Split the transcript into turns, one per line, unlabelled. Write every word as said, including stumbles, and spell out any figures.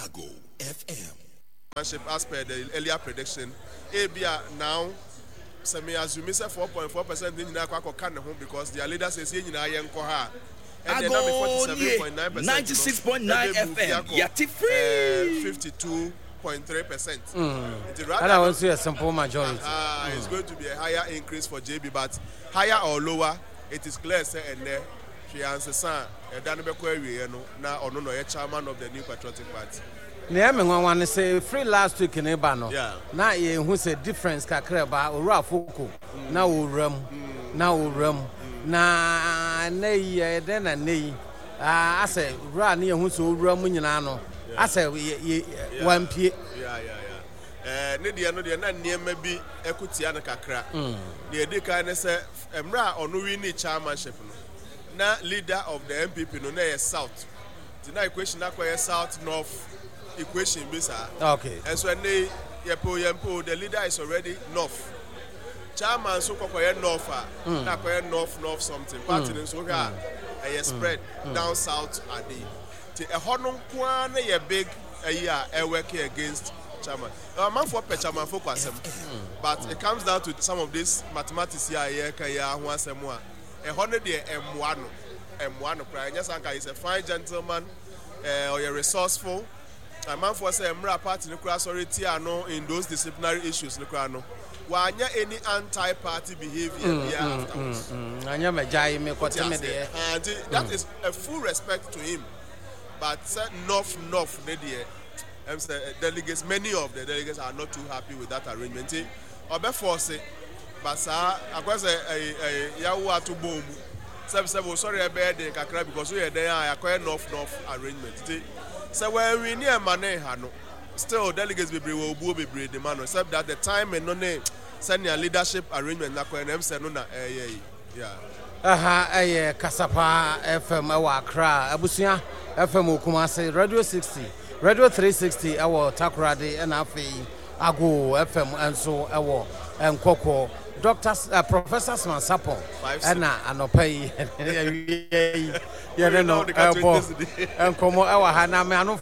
Ago F M.
As per the earlier prediction, ebia now sɛ me assume sɛ four point four percent ne nyinaa kɔ akɔka ne ho because their leader says yɛn nyinaa yɛn nkɔ ha a, ɛnna na me forty-seven point nine percent
ninety-six point nine F M, yate free.
fifty-two point three percent.
Nti rather ɛna wɔn nso yɛ simple majority.
uh, it's going to be a higher increase for J B, but higher or lower, it is clear sɛ ɛnɛ hwee ansesa a ɛda no bɛkɔ awieɛ no na ɔno na ɔyɛ chairman of the New Patriotic Party.
Nea ɛmɛ nwanwa ne sɛ free last week ne ba no,
Yeah.
na yɛhu sɛ difference kakra ba Owura Afoko na owura mu na owura mu na nne yi ɛyɛ dɛn na nne yi, ah, asɛ wura ne yɛhu sɛ owura mu nyinaa no asɛ yɛ yɛ wampie.
Yeah, yeah, yeah. Eh, ne deɛ no deɛ na nneɛma bi ɛko tia no kakra. Deɛ ɛdi kan ne sɛ mmerɛ a ɔno win ne chairmanship no, na leader of the N P P no na ɛyɛ South, nti na equation akɔyɛ South North equation bi saa.
Okay
ɛnso ɛnɛ yi, yɛpɛ o yɛmpɛ o, the leader is already North. Chairman nso kɔkɔyɛ North a, na akɔyɛ North North something. Party no nso wohwɛ a, ɛyɛ spread down south ade, nti ɛhɔ no nko ara ne yɛ big ɛyi a ɛworking against chairman. Amanfoɔ pɛ chairman fo kɔ asɛm, but it comes down to some of these mathematics yi a yɛreka yi ho asɛm a, ɛhɔ no deɛ ɛmmoa no, ɛmmoa no koraa. Ɛnyɛ sanka he is a fine gentleman, ɛɛ ɔyɛ resourceful. Amanfoɔ sɛ mmerɛ party no koraa sɔre tia no in those disciplinary issues no koraa no, wanyɛ any anti-party behaviour mm, biara afterwards.
Anyɛ mɛgya yi mekɔte me deɛ.
Ah, nti that is a full respect to him, but sɛ North North ne deɛ, ɛm sɛ delegates, many of the delegates are not too happy with that arrangement, nti ɔbɛ force, but saa akɔ sɛ ɛyɛ ɛyɛ yawo ato bɔn mu sɛbi sɛbi osɔre ɛbɛyɛ den kakra because oyɛ den a akɔyɛ North North arrangement. Nti sɛ wɔnwi ne ɛma ne ha no, still delegates bebree wɔ obuo bebree de ma no, except that the timing no ne sɛnea leadership arrangement nakɔyɛ no, ɛm sɛ no na ɛyɛ yi, yeah.
Ɛha ɛyɛ Kasapa F M ɛwɔ Accra, Abusua F M wɔ Kumase, Radio sixty, Radio three sixty ɛwɔ Takoradi, ɛna afei Ago F M nso ɛwɔ Nkɔkɔ. Doctor uh, Professor Smart Sarpong ɛna anɔpa yi, ɛwia yi, yɛne no ɛbɔ nkɔmmɔ ɛwɔ ha na me ano.